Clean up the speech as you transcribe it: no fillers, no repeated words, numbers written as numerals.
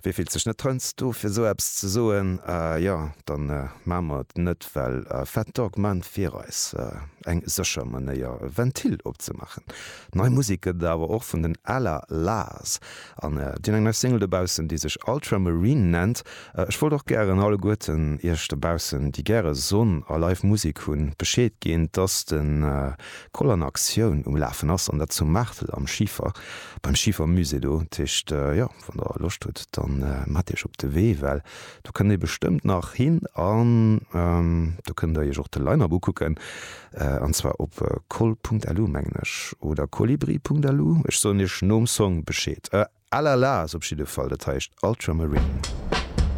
Wie fillt sech net heiansdo fir esou eppes ze soen? Jo, dann maache mer et net, well Fat Dog man fir eis eng sécher Manéier e Ventil opzemaachen. Nei Musek gëtt et awer och vun den Allah-Las an déi hunn eng nei Single dobaussen, déi sech Ultramarine nennt. Ech wollt och gären alleguerten iech dobaussen, déi gäre Sonn a live Musek hunn, Bescheed ginn, dass de Koll an Aktioun um Lafen ass an dat zu Maartel am Schifer, beim Schifermusée do. Dat heescht, jo. Wann der Loscht hutt, dann maacht iech op de Wee, well do kënnt dir bestëmmt nach hin an do kënnt der iech och de Line-Up ukucken an zwar op koll.lu mengen ech oder kolibri.lu. Ech soen iech nom Song Bescheed. Alala ass op jidde Fall, dat heischt Ultramarine.